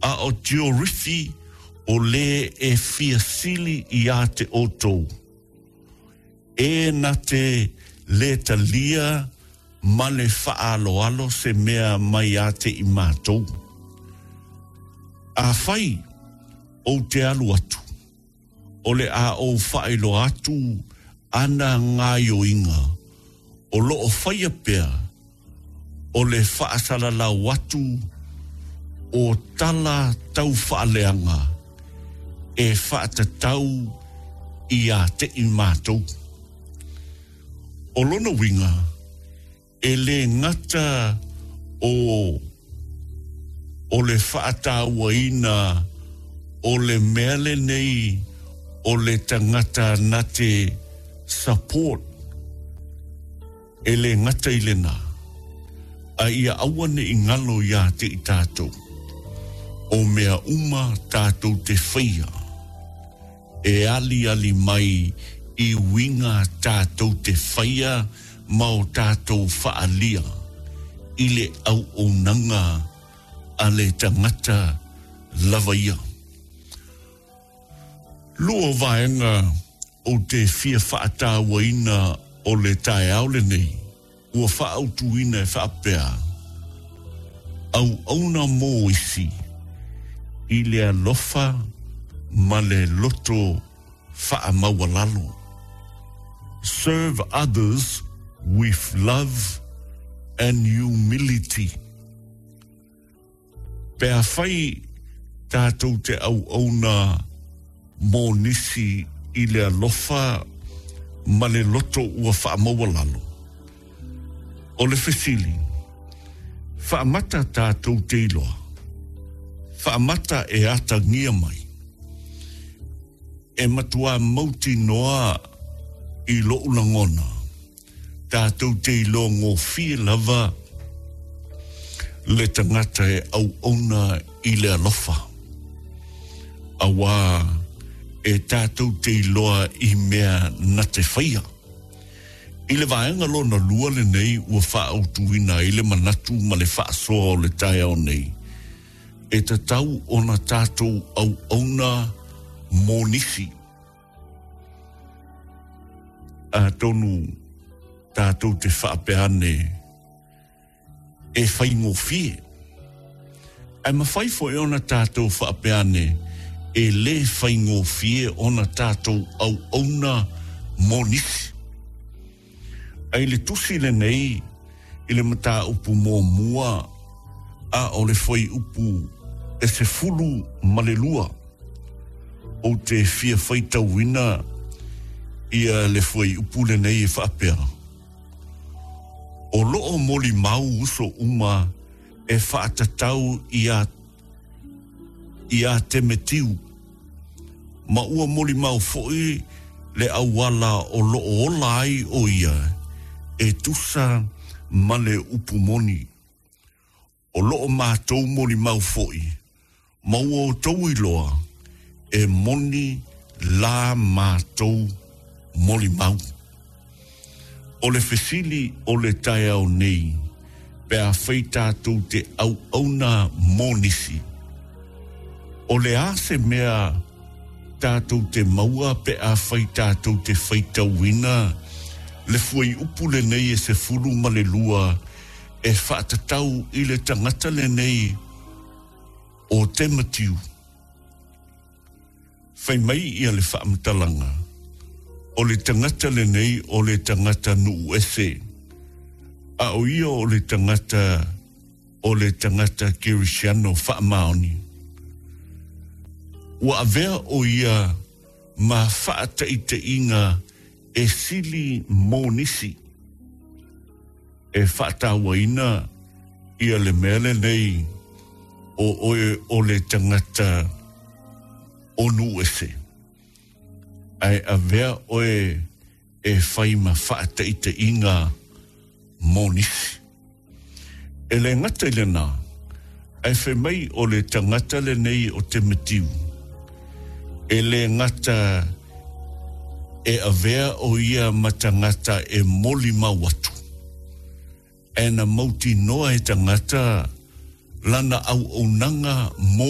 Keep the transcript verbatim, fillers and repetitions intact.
A o Tiorifi o lē e fia sili iā te outou, e na te lē talia ma le faaaloalo se mea mai ia te i matou. Afai ou te alu atu, o le a ou faailoa atu ana gaoioiga o loo faia pea, o le faasalalau atu o tala taufaaleaga e faatatau iā te i matou. O lona uiga, e lē gata o o le faatauaina o le mea lenei o le tagata na te support, e lē gata i lenā, a ia aua ne i galo iā te i tatou, o mea uma tatou te faia e aliali mai i uiga tatou te faia ma o tatou faaalia i le auaunaga a le tagata lava ia. Lua vaega ou te fia faatauaina o le taeao lenei ua faaautuina e faapea: auauna mo isi i le alofa ma le loto faamaualalo. Serve others with love and humility. Pe afai tatou te auauna mo nisi i le alofa ma le loto ua faamaualalo, o le fesili, faamata tatou te iloa, faamata e atagia mai e matuā mautinoa i lou lagona tatou te iloa gofie lava le tagata e auauna i le alofa, auā e tatou te iloa i mea na te faia. I le vaega lona lua lenei ua faaautuina ai le manatu ma le faasoa o le taeao nei, e tatau ona tatou auauna mo nisi. Atonu tatou te faapea ane e faigofie, ae mafai foi ona tatou faapea ane e lē faigofie ona tatou auauna mo nisi. Ae i le tusi lenei i le mataupu muamua a o le fuaiupu e sefulu ma le lua, ou te fia faitauina ia le fuaiupu lenei e faapea: o loo molimau uso uma e faatatau iā iā Temetiu, ma ua molimau foi le auala o loo ola ai o ia e tusa ma le upu moni. O loo matou molimau foi, ma ua outou iloa e moni la matou molimau. O le fesili o le taeao nei, pe afai tatou te auauna mo nisi, o le a se mea tatou te maua pe afai tatou te faitauina le fuaiupu lenei e sefulu ma le lua e faatatau i le tagata lenei o Temetiu? Fai mai ia le faamatalaga, o le tagata lenei o le tagata nuu ese, a o ia o le tagata o le tagata kerisiano faamaoni. Ua avea o ia ma faataitaiga e sili mo nisi. E faatauaina ia le mea lenei o oe o le tagata o nuu ese, ae avea oe e fai ma faataitaiga mo nisi. E lē gata i lenā, ae fai mai o le tagata lenei o Temetiu, e lē gata e avea o ia ma tagata e molimau atu, ae na mautinoa e tagata lana auaunaga mo